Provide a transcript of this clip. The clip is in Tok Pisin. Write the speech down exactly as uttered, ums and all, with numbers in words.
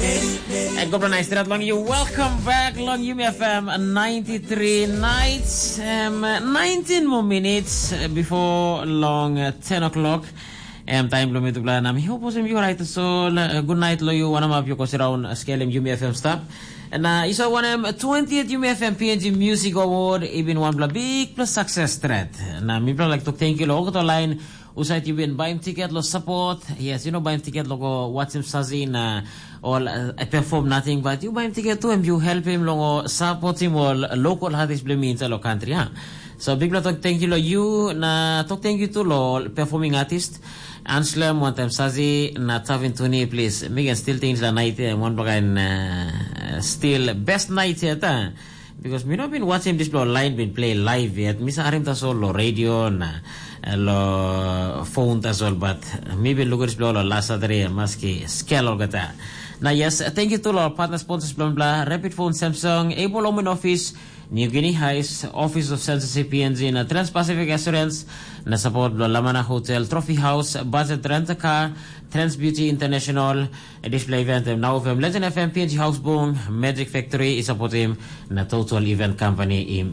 And God bless nice that long you. Welcome back long Yumi F M ninety-three nights. Um, nineteen more minutes uh, before long uh, ten o'clock. Em time lo mi tu plan. Am hiu posim yu right so uh, good night lo yu wanam ap yu ko siraun uh, skelem Yumi F M stop. Na iso wanem twentieth Yumi F M P N G Music Award ibin wan bla big plus success threat. Na mi bla like to thank you lo okoto line usait you bin baim tiket lo support. Yes, you know baim tiket lo go watchim sazi na all uh, perform nothing but you baim tiket tu em you help him lo go support him all local artist blim inside lo country ha. So big lot of thank you lo you na talk thank you to lo performing artist. Anslem one time sazi na tavin tuni please. Mi can still things la night eh, one bagan uh, still best night yet. Because mi no bin watchim dispela line bin play live yet. Mi sa harim tasol lo radio na eh, lo phone tasol but mi bin lukim dispela lo last Saturday maski skel olgeta. Na yes, thank you to lo partner sponsors bla bla Rapid Phone Samsung, Able Home and Office, New Guinea Highs, Office of Censorship P N G na Trans-Pacific Assurance na support bla Lamana Hotel, Trophy House, Budget Rent a Car, Trans Beauty International, Display Event, Now F M, Legend F M, P N G House Boom, Magic Factory, i supportim na Total Event Company i